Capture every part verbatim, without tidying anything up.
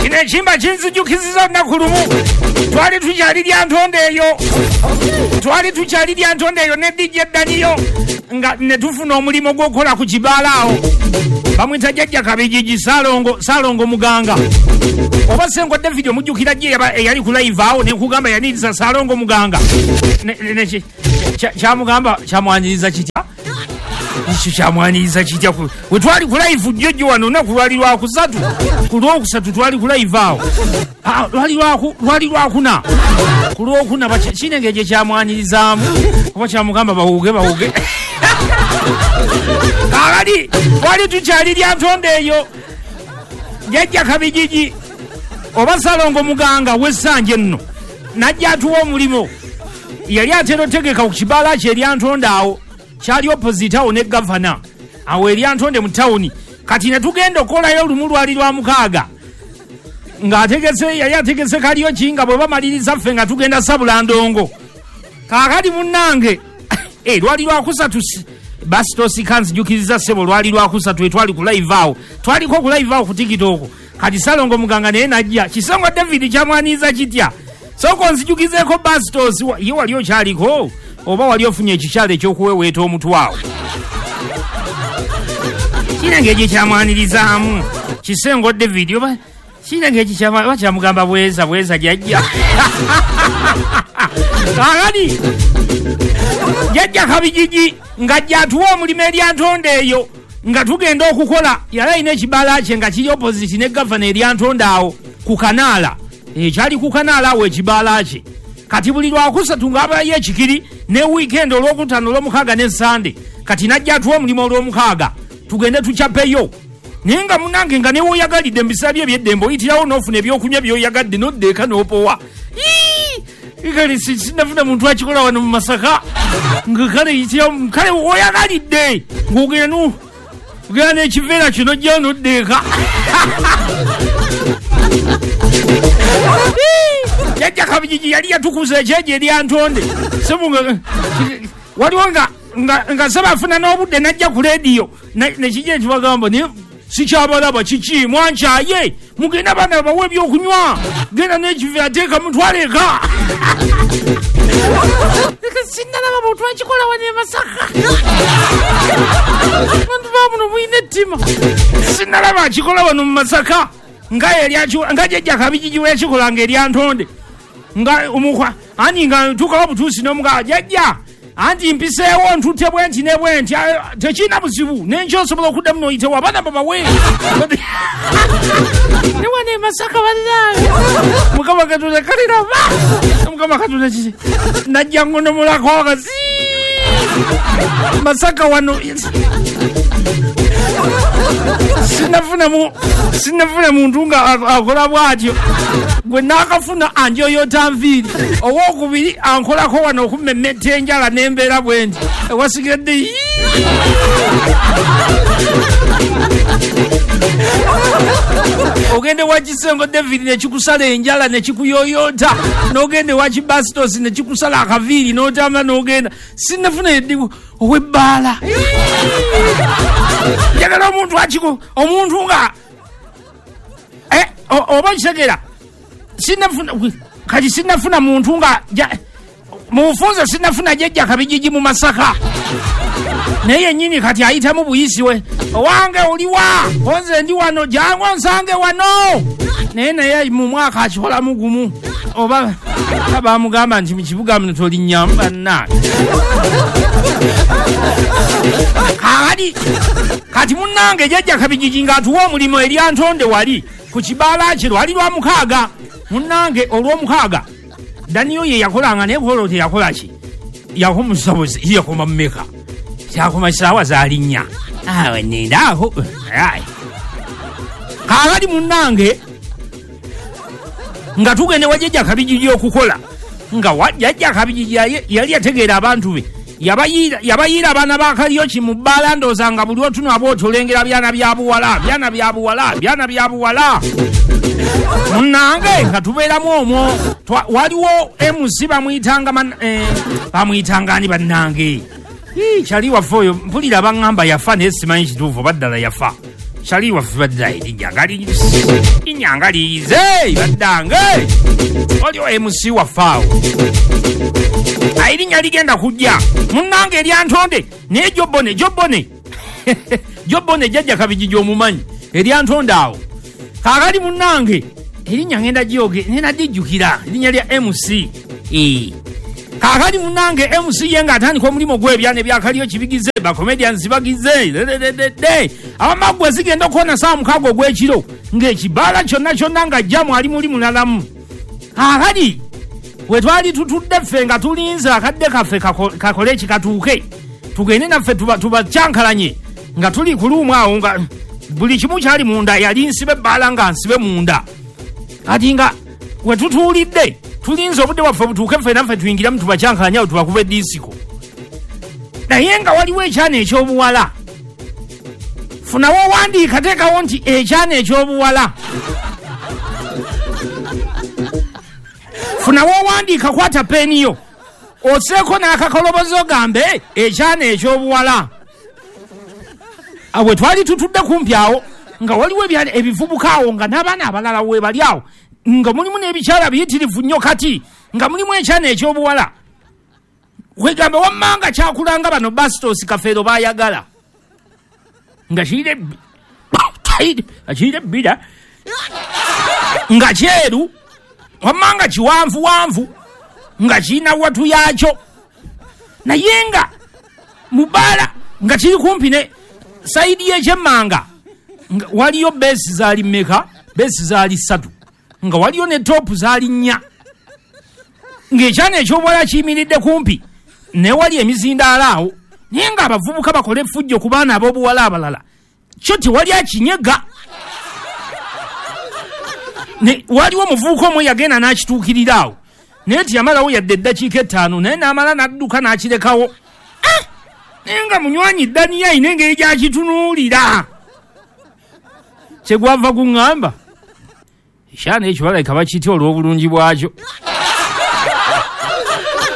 Kino ekimba kinzijukizza olunaku lumu twali tukyali Lyantonde eyo, twali tukyali Lyantonde eyo ne D J Daniyo nga ne tufuna omulimu gw'okukola ku kibaala awo. Bamuyita Jjajja Kabijiji Ssalongo, Ssalongo Muganga. Oba Ssengo David omujjukira gye eyali ku live awo ne nkugamba yaniriza Ssalongo Muganga. Kyamugamba kyamwaniriza kitya? Ekyo kyamwaniriza kitya? We twali ku live jjojjo wano olunaku lwali lwakusatu, ku lwokusatu twali ku live awo. Lwali lwali lwakuna, ku lwokuna kirina engeri gye kyamwanirizaamu oba kyamugamba bawuge bawuge. Kaakati twali tukyali Lyantonde eyo, Jjajja Kabijiji oba Ssalongo Muganga w'essanja nno n'ajja atuwa omulimu. Yali atera otegeka ku kibaala kye Lyantonde awo, kyali opposite awo ne gavana awo e Lyantonde mu tawuni. Kati ne tugenda okukolayo olumu lwali lwa mukaaga ng'ategese, yali ategese karaoke nga bwe bamaliriza ffe nga tugenda sabula ndongo. Kaakati munnange eh, lwali lwakusatu Basitosi kanzijukiriza ssebo, lwali lwakusatu etwali ku live awo, twaliko ku live awo ku TikTok. Kati Ssalongo Muganga naye n'ajja. Kisengo David kyamwaniriza kitya? Sooka onzijukizeeko Basitosi, ye wali okyaliko oba wali ofunye ekikyalo ekyokuweweeta omutwe awo? Kirina engeri gye kyamwanirizaamu Kisengo David oba kirina engeri kyamugamba bweza bweza jjajja. Kaakati Jjajja Kabijiji ng'ajja atuwa omulimu e Lyantonde eyo nga tugenda okukola. Yali alina ekibaala kye nga kiri opposite ne gavana e Lyantonde awo ku kanaala, ekyali ku kanaala awo ekibaala kye. Kati buli lwakusatu ng'abayo ekikiri ne weekend olwokutaano olwomukaaga ne Sande. Kati n'ajja atuwa omulimu olwomukaaga tugende tucapeyo. Naye nga munnange nga newoyagalidde mu biseera bye eby'eddembe oyitirawo n'ofuna ebyokunywa by'oyagadde n'odda eka n'opowa. Kale sinnafuna muntu akikola wano mu Masaka nga kale yitirawo kale woyagalidde ng'ogenda no ogenda n'ekiveera kyo n'ojjayo n'odda eka. Jjajja Kabijiji yali yatukuza ekyejo e Lyantonde. Waliwo nga nga ssebo afuna n'obudde n'ajja ku leediyo nekijja nekibagamba naye sikyabalaba kiki mwankyaye mugenda abaana babawe ebyokunywa genda n'ekiveera teeka mutwale eka. Sinnalaba muntu akikola wano e Masaka, bantu ba muno mulina ettima. Sinnalaba akikola wano mu Masaka nga Jjajja Kabijiji we yakikolanga e Lyantonde nga omukwa ani nga ntuukawo butuusi n'omugamba jjajja anti mpiseewo ntutte bwe nti ne bwe nti tekirina buzibu n'enkya osobola okuddamu n'oyitewo abaana babawe. Ne wano e Masaka bannange Mukama Katonda kaliraba Mukama Katonda kiki najja ngonomulako akasi Masaka wano sinnafuna sinnafuna muntu nga akola bw'atyo. Gwe naakafuna anjoyoota nviiri, owookubiri ankolako wano okummemmetta enjala n'embeera bwe nti ewasigadde. Ogende wa Kisengo David nekikusala enjala nekikuyoyoota, n'ogende wa Kibasitosi nekikusala akaviiri n'otambula n'ogenda. Sinnafuna eddibu ow'ebbaala. Njagala omuntu akiko omuntu nga oba nkitegeera sinnafuna kati sinnafuna muntu nga mubufunze sinnafuna Jjajja Kabijiji mu Masaka naye yennyini kati ayitamu buyisi we owange oliwa konze ndi wano jangu onsange wano. Naye naye mu mwaka akikolamu gumu oba bamugamba nti mu kibuga muno tolinnya bannange. Kaakati kati munnange Jjajja Kabijiji ng'atuwa omulimu e Lyantonde wali ku kibaala kye lwali lwa mukaaga. Munnange olw'omukaaga Daniyo ye yakolanga naye kolo teyakola ki yakomusabuzi yakoma mmeka kyakoma ssaawa zaali nnya awe nindaako. Kaakati munnange nga tugende wa Jjajja Kabijiji okukola nga Jjajja Kabijiji yali yategeera abantu be yabayiira abaana ba karaoke mu bbaala ndowooza nga buli otunula bw'otolengera byana bya buwala byana bya buwala byana bya buwala. Munnange nga tubeeramu omwo waliwo M C bamuyitanga bamuyitanga ani bannange kyali waffe oyo mpulira baŋŋamba yafa naye simanyi kituufu oba ddala yafa. Shali waffe badda erinnya nga linnya nga liyize baddange waliwo M C waffe awo erinnya ligenda kujja munnange eryantonde naye Jobone Jobone Jobone jjajja Kabijiji omumanyi eryantonde awo kaakali munnange erinnya ngenda gyoge ngenda dijjukira erinnya lya M C ee kaakali munnange M C ye ng'atandika omulimu gw'ebyana ebyakaliyo kibigize bacomedians bagize dededede abamaggwe zigenda okuwona ssaawa mukaaga ogw'ekiro ng'ekibaala kyonna kyonna nga jjamu ali muli mulalamu. Kaakali we twali tutudde ffe nga tulinze akadde kaffe kakole ekikatuuke tugende naffe tubacyankalanye nga tuli ku luumu awo nga buli kimu kyali munda yali nsibe ebbaala nga nsibe munda kati nga we tutuulidde tulinze obudde bwaffe butuuke ffe naffe tuyingiramu tubacyankalanye awo tubakuba eddiisiko naye nga waliwo ekyana ekyobuwala funawo owandiika teekawo nti ekyana ekyobuwala funawo owandiika kwata peeni yo oseeko n'akakolobozo ogambe ekyana ekyobuwala. Awe twali tutudde kumpi awo nga waliwo ebivubuka awo nga n'abaana abalala we bali awo nga mulimu n'ebikyala biyitirivu nnyo kati nga mulimu ekyana ekyobuwala wegamba wammanga kyakulanga bano Bastos Kafeero baayagala nga kirire ebbira nga kyeru wammanga kiwanvuwanvu nga kirina watu yakyo naye nga mubaala nga kiri kumpi ne sayidi y'ekyemmanga waliyo beesi zaali mmeka beesi zaali ssatu nga waliyo ne toopu zaali nnya ng'ekyana ekyobuwala kiyimiridde kumpi ne wali emizindaalo awo naye ng'abavubuka bakola effujjo ku baana ab'obuwala abalala kyo tewali akinyega. Waliwo omuvubuka omu yagenda n'akituukirira awo naye teyamalawo yadde eddakiika ettaano naye n'amala n'adduka n'akirekawo naye nga munywanyi Daniya ayina engeri gy'akitunuulira kyegwava guŋŋamba ekyana ekyo balabika bakitya olw'obulungi bwakyo.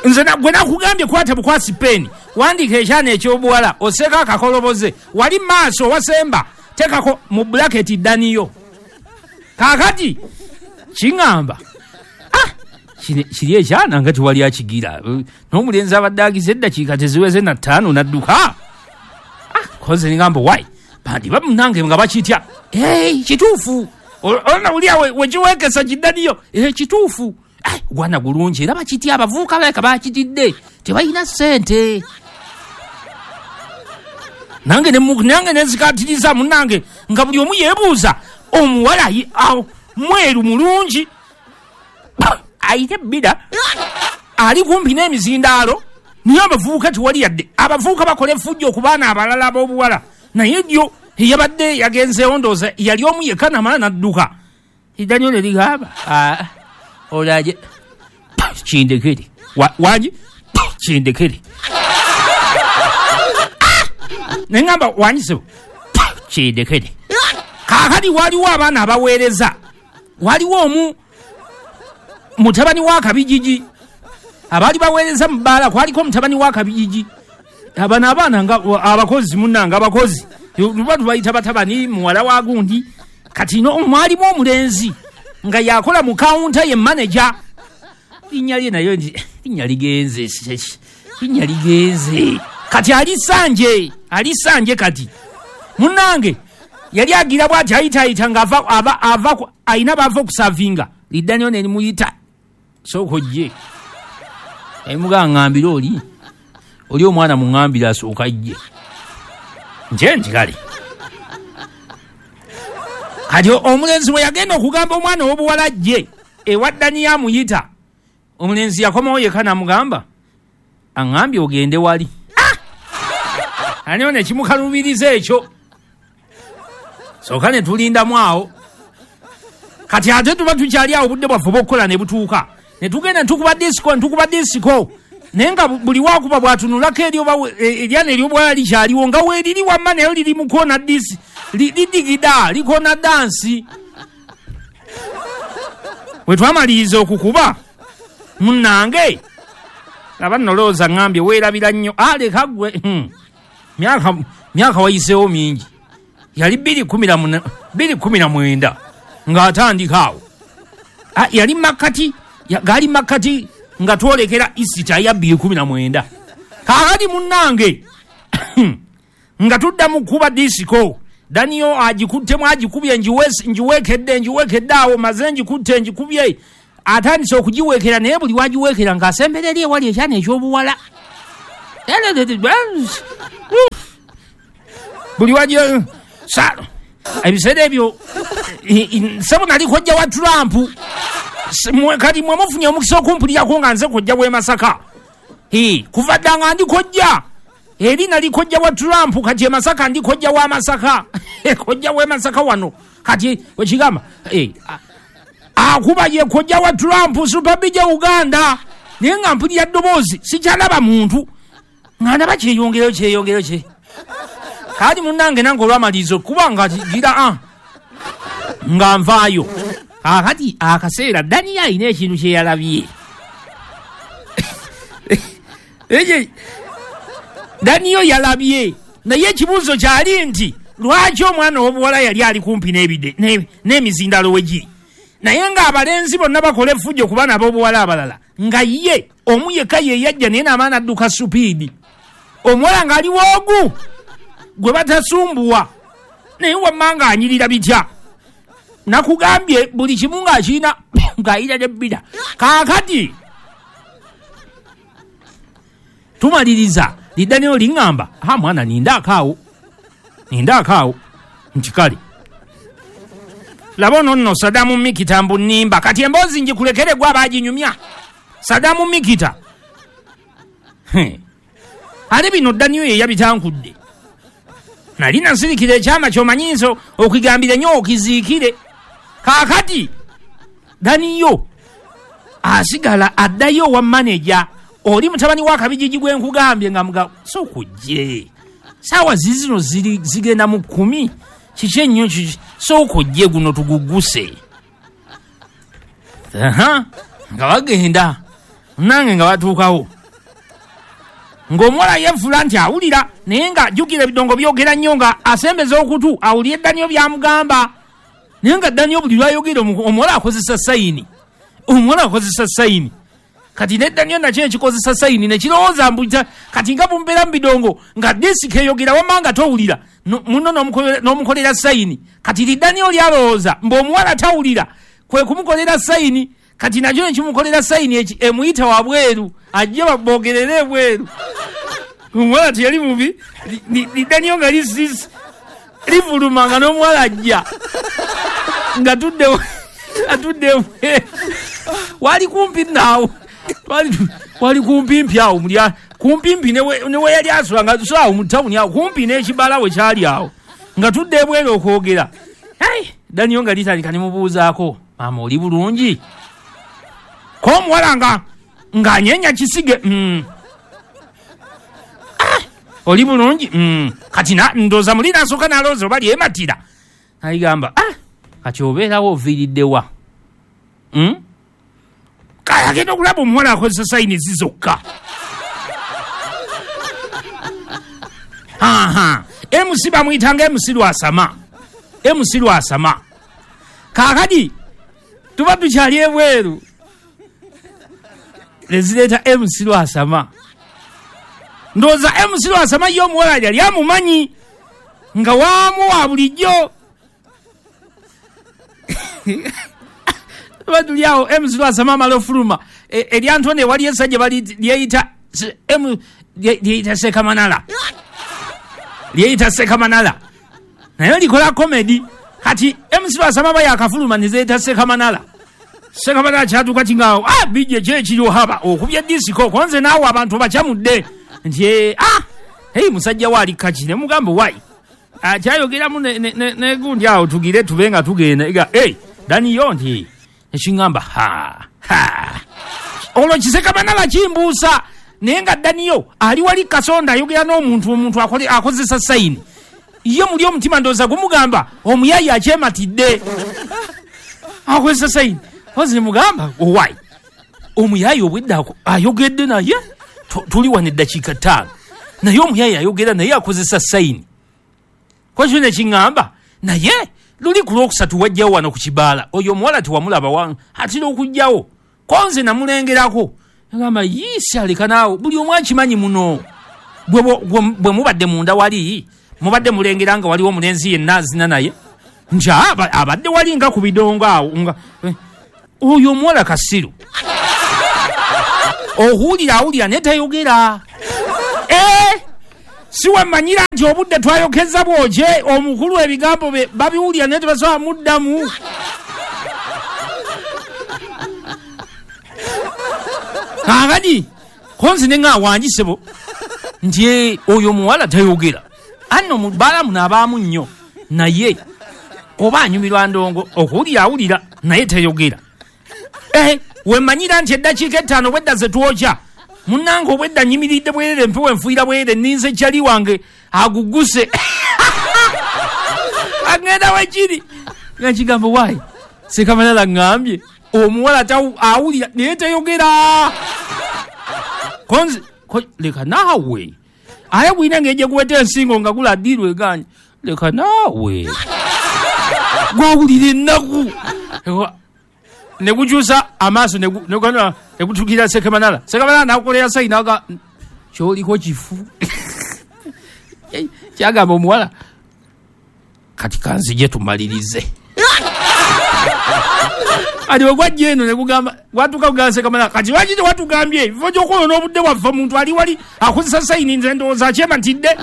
Nze gwe nakugambye kwata bukwasi peeni wandiika ekyana ekyobuwala oseeko akakoloboze wali maaso wasemba teekako mu bulaketi Daniyo. Kaakati kiŋŋamba ah kiri ekyana nga tewali akigira n'omulenzi abadde agize eddakiika teziweze na ttaano n'adduka ah koze ningamba wai bandiba munnange nga bakitya ee kituufu olona wuli wekiweekesa kiddaniyo ee kituufu gwana gulungi era bakitya abavubuka balabika bakitidde tebalina ssente. Nange nange nenzikatiriza munnange nga buli omu yeebuuza omuwala mweru mulungi ayite ebbira ali kumpi n'emizindaalo naye abavubuka tewali yadde abavubuka bakola effujjo ku baana abalala ab'obuwala naye ddyo eyabadde yagenzeewo ndowooza yali omu yekka namala n'adduka Daniyo ne ligamba olaje kindekere wangi kindekere ne ŋŋamba wangi kindekere. Kaakati waliwo abaana abaweereza waliwo omu mutabani wa Kabijiji abaali baweereza mu bbaala kwaliko mutabani wa Kabijiji abano abaana nga abakozi munnange abakozi luba tubayita batabani muwala wa gundi kati no mwalimu omulenzi nga yakola mu kawunta ye maneja linnya lye nayo linnya ligenze linnya ligenze kati ali Sanje ali Sanje kati munnange yali agira bw'ati ayitaayita nga ava ava ava ayina bava okusavinga Lidaniyo ne limuyita sooka ojje emugamba ŋŋambire oli oli omwana muŋŋambire asooka ajje nje nti kale. Kati omulenzi bwe yagenda okugamba omwana ow'obuwala ajje ewa Daniyo amuyita omulenzi yakomawo yekka n'amugamba aŋŋambye ogende wali Daniyo ne kimukalubiriza ekyo sooka ne tulindamu awo. Kati ate tuba tukyali awo obudde bwaffe obw'okukola ne butuuka ne tugenda ne tukuba disiko ne tukuba disiko naye nga buli wakuba bw'atunulako eri oba eryana ery'obuwala likyaliwo nga weeriri wamma naye liri mu koona disi lidigida likoona dansi. Bwe twamaliriza okukuba munnange aba nno lowooza ŋŋambye weerabira nnyo aleka ggwe myaka myaka wayiseewo mingi Yali bbiri kumi na mwenda ng'atandika awo. Yali makkati, gaali makkati nga twolekera Isita ya bbiri kumi na mwenda. Kaakati munnange nga tudda mu kuba disiko, Daniel agikuttemu agikubye, ngiweekedde ngiweekedde awo, maze ngikutte ngikubye, atandise okugiweekera, naye buli wagiweekera ng'asembera eri ewali ekyana eky'obuwala. Buli wagi ebiseera ebyo ssebo nali kojja wa Trump. Kati mwe mufunye omukisa okumpulirako nga nze kojja w'e Masaka. Kuva dda nga ndi kojja, eri nali kojja wa Trump, kati e Masaka ndi kojja wa Masaka. Kojja w'e Masaka wano kati wekigamba akuba ye kojja wa Trump Super B J Uganda, naye nga mpulira ddoboozi sikyalaba muntu, nga ndaba kyeyongerayo kyeyongerayo kye. Kati munnange nange olwamaliriza okuba nga gira a nga nvaayo. Kaakati akaseera Daniel alina ekintu kye yalabye. Daniel yalabye, naye ekibuuzo kyali nti lwaki omwana ow'obuwala yali ali kumpi n'emizindalo we giri, naye ng'abalenzi bonna bakola effujjo ku baana ab'obuwala abalala, nga ye omu yekka ye yajja naye n'amaana adduka supiidi, omuwala ng'ali woogu gwe batasumbuwa, naye wamma ng'anyirira bitya. Nakugambye buli kimu ng'akirina ng'ayira n'ebbira. Kaakati tumaliriza liddaniro liŋŋamba, ha mwana nindaako awo, nindaako awo, nti kale laba ono nno Sadamu Mikita mbu nnimba. Kati emboozi ngikulekere gwe abaaginyumya. Sadamu Mikita ate bino Daniel ye yabitankudde. Nali nasirikira ekyama ky'omanyi nso okugambira nnyo okiziikire. Kaakati Daniel asigala addayo owa maneja oli mutabani wa Kabijiji gwe nkugambye nga muga sooka ojje, saawa zizino ziri zigenda mu kkumi, kiki ennyo sooka ojje guno tuguguse. Aha, nga bagenda nange nga batuukawo, ng'omuwala yeefula nti awulira, naye nga jjukira ebidongo byogera nnyo, nga asembeza okutu awulire Daniel by'amugamba, naye nga Daniel buli lw'ayogera omuwala akozesa sayini, omuwala akozesa sayini. Kati ne Daniel nakyo ekikozesa sayini ne kirowooza mbu kati nga bumbeera mu bidongo nga disiko eyogera wamma nga towulira, munno n'omukolera sayini. Kati li Daniel lyalowooza mbu omuwala tawulira, kwe kumukolera sayini. Kati nakyo nekimukolera sayini emuyita wabweru ajje baboogerere ebweru. Omuwala teyali mubi, li Daniel nga livuluma nga n'omuwala ajja nga tudde atudde ebweru. Wali kumpi naawo, wali kumpimpi awo, kumpimpi ne we yali asula nga so awo mu tawuni awo kumpi n'ekibala we kyali awo, nga tudde ebweru okwogera. Daniel nga litandika ne mubuuzaako, maama oli bulungi? Ko omuwala nga ng'anyeenya kisige, mm. Ah, oli bulungi? Mm. Kati ndowooza muli n'asooka n'alowooza oba lyematira. Ayigamba, ah, kati obeerawo oviiridde wa? Mm? Kale agenda okulaba omuwala akozesa sayini zi zokka. Aha, M C bamuyitanga M C Lwasama. M C Lwasama. Kaakati tuba tukyali ebweru, lezireeta M C Lwasama. Ndowooza M C Lwasama ye omuwala yali amumanyi nga waamu wa bulijjo. Tuba tuli awo M C Lwasama amala ofuluma, eryantone wali essajja bali lyeyita lyeyita Sekamanala, lyeyita Sekamanala, naye likola komedi. Kati M C Lwasama aba yakafuluma ne zeeyita Sekamanala. Sekamanala kyatuuka kingaawo, ah, bijje ki ekiriwo haba okubya disiko konze naawe abantu bakyamudde nti ah, hei musajja we ali kaki. Ne mugamba wayi akyayogeramu negundi awo tugire tube nga tugenda. Ega hey, Daniel nti ekiŋŋamba ha ha, olwo Kisekamanala kimbuusa, naye nga Daniel ali wali kasonda ayogera n'omuntu, omuntu akozesa sayini. Ye muli omutima ndowooza gumugamba omuyayi akyematidde akozesa sayini. Ozi mugamba owai omuyayi obwedda ayogedde naye tuli wano eddakiika ttaano, naye omuyayi ayogera naye akozesa sayini. Ko kino nekiŋŋamba, naye luli ku lwokusatu wajjawo wano ku kibaala, oyo omuwala tewamulaba, atera okujjawo, konze namulengerako. Agamba yiisi aleka naawe, buli omu akimanyi muno. Bwe mubadde munda wali, mubadde mulengera nga waliwo omulenzi yenna azina naye, nti abadde wali nga ku bidongo awo, nga oyo omuwala kasiru. Ohuulira awulira naye tayogera. Eh! Si wamanyira nti obudde twayokeza bwokye, omukulu ebigambo bye babiwulira naye tebasobola muddamu. Kaakati konzi ne nga wangi ssebo nti oyo omuwala tayogera. Anno mu bbaala muno abaamu nnyo, naye oba anyumirwa ndongo, okuwulira awulira naye tayogera. Eh, wemanyira nti eddakiika ettaano obwedda ze twokya, munnange obwedda nnyimiridde bwerere, empewo enfuuyira bwerere, nninze kyali wange aguguse. Agenda wekiri nga kigambo waayi Sekamanala ŋŋambye omuwala awulira naye tayogera. Konzi leka naawe, aye gwina engeri gye guweta ensingo nga guladdiirwa eganye, leka naawe gwawulira ennaku ne gukyusa amaaso ne gutuukirira Sekamanala. Sekamanala n'akukolera sayini aga kyoliko kifu. Kyagamba omuwala kati kanzije tumalirize. Ati bwe gwajja eno ne gugamba, gwatuuka kugamba Sekamanala kati lwaki tewatugambye ebifo gy'okwonoona obudde bwaffe, omuntu ali wali akozesa sayini, nze ndowooza akyematidde.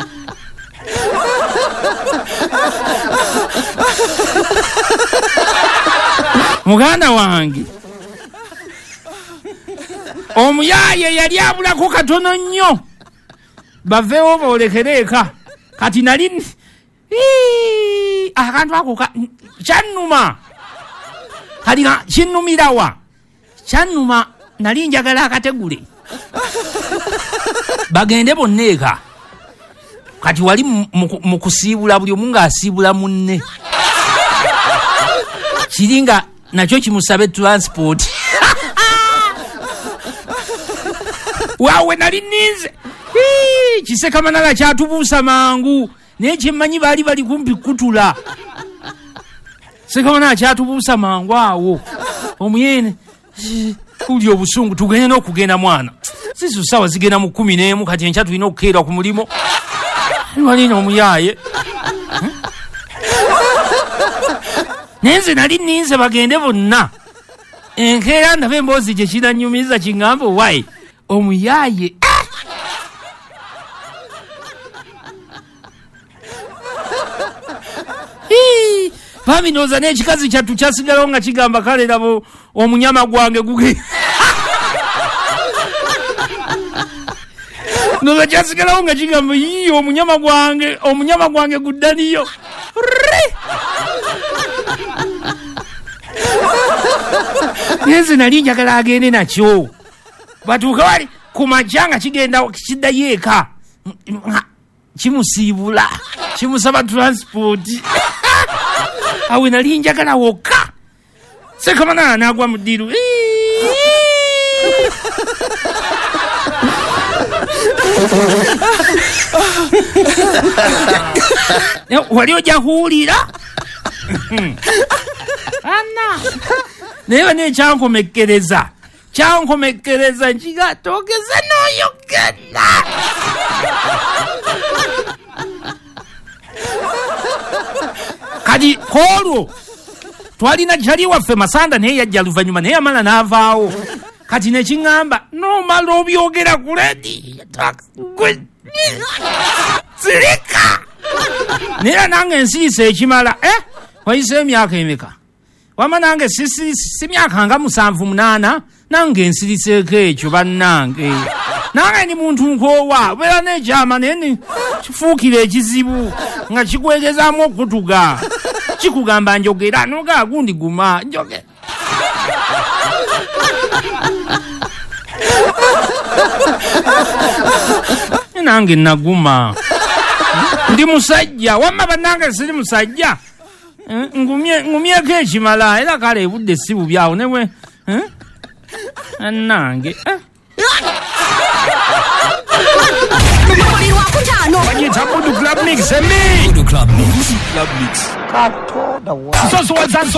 Muganda wange omuyaaye yali abulako katono nnyo baveewo boolekere eka. Kati nali akantu ako kyannuma, kati kinnumirawa, kyannuma nali njagala akategule bagende bonna eka. Kati wali mu kusiibula buli omu ng'asiibula munne, kiri nga nakyo kimusabe transport. Waawe nali nninze Kisekamanala kyatubuusa mangu, naye kyemmanyi baali bali kumpi kutula. Sekamanala kyatubuusa mangu awo omuyene kuli obusungu, tugende n'okugenda mwana, sisu ssaawa zigenda mu kkumi n'emu, kati enkya tulina okukeera ku mulimu. Walina omuyaaye naye nze nali nninze bagende bonna. Enkeera ndaba emboozi gye kinannyumiza kiŋŋamba waayi omuyaaye. Bambi ndowooza n'ekikazi kyattu kyasigalawo nga kigamba kale labo omunyama gwange guge. Ndowooza kyasigalawo nga kigamba yii omunyama gwange, omunyama gwange guddaniyo. Nze nali njagala agende nakyo, batuuke wali ku makya nga kigenda kiddayo eka, kimusiibula kimusaba transport. Awe nali njagala wokka. Sekamanala n'agwa mu ddiiru. Wali ojja kuwulira ana naye bane ekyankomekkereza kyankomekkereza nkiga togeze n'oyogera. Kati kwolwo twalina kyali waffe Masanda, naye yajja luvannyuma naye yamala n'avaawo. Kati nekiŋŋamba n'omala obyogera ku lediyo sirika, naye nange nsirise ekimala. Eh, wayise emyaka emeka? Wama nange si myaka nga musanvu munaana, nange nsiriseeko ekyo bannange. Nange ndi muntu nkoowa, obeera n'ekyama naye kifuukira ekizibu nga kikwegezaamu okutuga, kikugamba njogera noga gundi guma njogera. Nange naguma, ndi musajja wamma bannange siri musajja, ngumyeko ekimala era kale ebudde si bubi awo nebwe nange. Buli wakuta ttaano. Bagiyita Budu Club Mix, embi. Budu Club Mix. Nsosowaza.